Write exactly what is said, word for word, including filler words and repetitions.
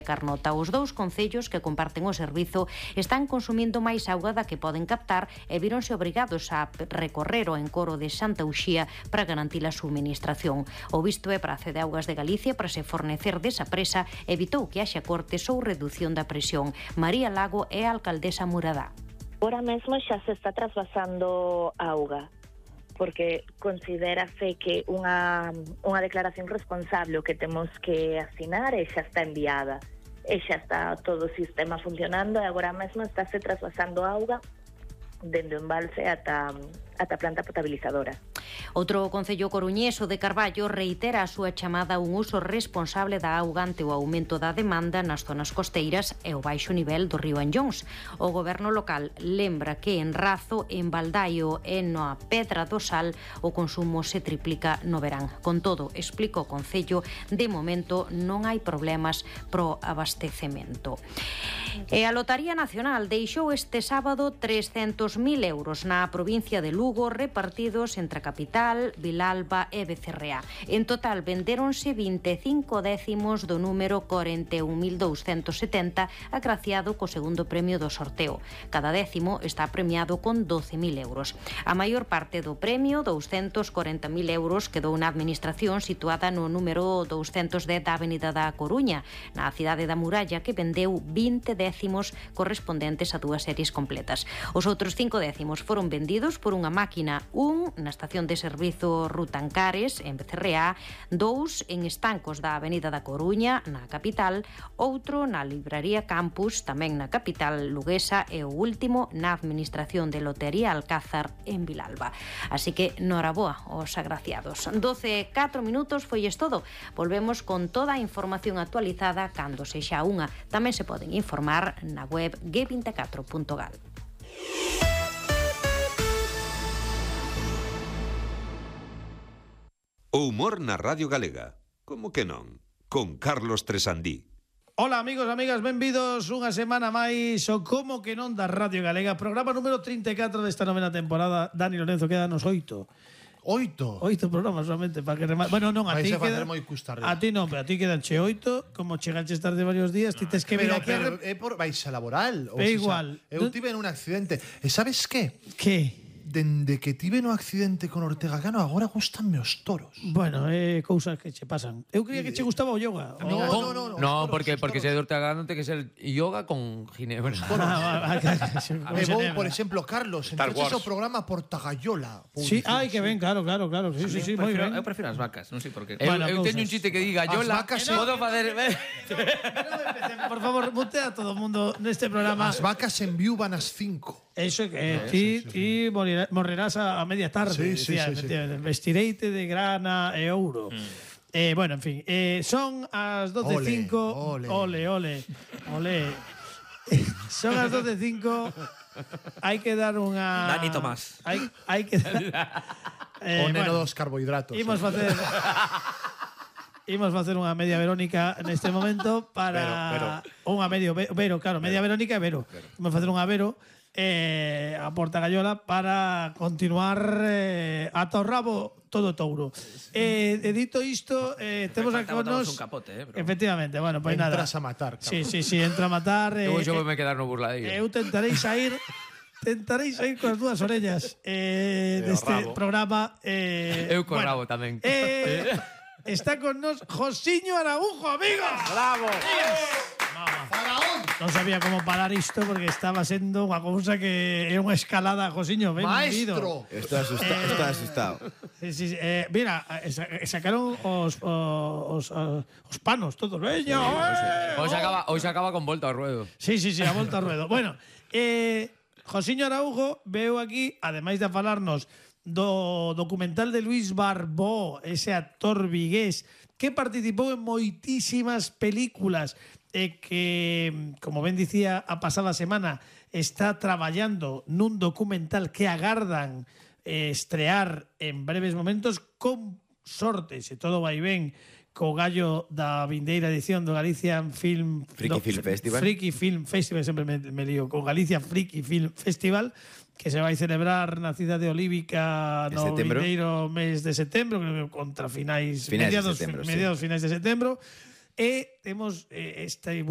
Carnota. Os dous concellos que comparten o servizo están consumindo máis auga da que poden captar e víronse obrigados a recorrer o encoro de Santa Uxía para garantir a suministración. O visto é prace de Augas de Galicia para se fornecer desa presa evitou que haxa cortes ou redución da presión. María Lago é a alcaldesa muradá. Ahora mesmo xa se está trasvasando auga, porque considérase que unha, unha declaración responsable o que temos que asinar e xa está enviada. E xa está todo o sistema funcionando e agora mesmo estáse trasvasando auga dende o embalse ata, ata a planta potabilizadora. Outro concello coruñés, o de Carballo, reitera a súa chamada a un uso responsable da auga ante o aumento da demanda nas zonas costeiras e o baixo nivel do río Anllóns. O goberno local lembra que en Razo, en Baldaio e na Pedra do Sal o consumo se triplica no verán. Con todo, explica o concello, de momento non hai problemas pro abastecemento. E a Lotaría Nacional deixou este sábado trescentos mil euros na provincia de Lugo repartidos entre a capital, Vilalba e Becerreá. En total vendéronse vinte e cinco décimos do número corenta e un mil douscentos setenta agraciado co segundo premio do sorteo. Cada décimo está premiado con doce mil euros. A maior parte do premio, douscentos corenta mil euros, quedou na administración situada no número douscentos dez da Avenida da Coruña, na cidade da Muralla, que vendeu vinte décimos correspondentes a dúas series completas. Os outros cinco décimos foron vendidos por unha máquina, un na estación de servizo Rutancares, en Becerreá, dous en estancos da Avenida da Coruña, na capital, outro na Libraría Campus, tamén na capital luguesa, e o último na Administración de Lotería Alcázar, en Vilalba. Así que, noraboa aos agraciados. doce e catro minutos foi es todo. Volvemos con toda a información actualizada cando sexa unha. Tamén se poden informar na web g veinticuatro punto gal. O humor na Radio Galega. Como que non? Con Carlos Tresandí. Ola, amigos, amigas, benvidos unha semana máis o Como que non da Radio Galega. Programa número trinta e catro desta novena temporada. Dani Lorenzo, quédanos oito. Oito? Oito programas solamente para que remate. Bueno, non, a ti queda... A ti non, pero a ti quedanche oito. Como cheganches tarde varios días, ti tes que vir aquí... Pero é por baixa laboral. É igual. Eu tive un accidente. E sabes que? Que? Dende que tive no accidente con Ortega Cano, agora gustanme os toros. Bueno, é eh, cousas que che pasan. Eu creía que che gustaba o yoga. No, no, no, no. No, porque porque se é de Ortega Cano ten que ser yoga con ginebra. Ah, Me vou, por exemplo, Carlos, entonces o programa Portagayola. Sí, ai, que ben, claro, claro, claro. Sí, sí, sí, moi ben. Eu prefiro as vacas, non sei por qué. Bueno, eu eu teño un chiste que diga yola, podo facer... Por favor, mutea a todo o mundo neste programa. As vacas enviúvan as cinco. Eso que eh, ti, sí, sí, ti morirás, morrerás a, a media tarde. Sí, sí, decía, sí, sí. Vestireite de grana e ouro. Mm. Eh, bueno, en fin, eh, son as doce e cinco. Ole, ole, ole. ole. Son as doce e cinco. Hai que dar unha... Dani Tomás. Hai, hai que dar... Eh, o neno bueno, dos carbohidratos. Imos eh. facer... Imos facer unha media Verónica neste momento para... Vero, Vero. Unha medio... Vero, claro, media Vero. Verónica e Vero. Vero. Imos facer unha Vero... Eh, a Portagayola para continuar eh, ata o rabo todo touro. Eh, e dito isto, eh, temos aquí con nos... un capote, eh, bro. Efectivamente, bueno, pois pues nada. Entras a matar. Cabrón. Sí, sí, sí, entra a matar. Eu eh, xo me quedar no burladillo. Eu tentarei sair... Tentaréis sair con as dúas orellas eh, deste rabo. Programa. Eh, Eu con bueno, rabo tamén. Eh, está con nos Josiño Araujo, amigos. Bravo. Faraón. Non sabía como parar isto porque estaba sendo unha cousa que é unha escalada, Josiño, ben Maestro. Estou asustado, eh, estou asustado. Sí, sí, eh, mira, sacaron os, os, os panos todos. Veña, eh, hoxe acaba, hoxe acaba con volta ao ruedo. Sí, sí, sí, a volta ao ruedo. Bueno, eh, Josiño Araujo veu aquí, ademais de falarnos do documental de Luis Barbó, ese actor vigués que participou en moitísimas películas e que, como ben dicía a pasada semana, está traballando nun documental que agardan eh, estrear en breves momentos, con sorte, se todo vai ben, co gallo da vindeira edición do Galician Film Friki do, Film Festival. Friki Film Festival, sempre me, me lío, con Galicia Friki Film Festival, que se vai celebrar na cidade olívica no vindeiro mes de setembro, creo que contra finais, finais mediados, de setembro, mediados sí. finais de setembro. E temos eh, este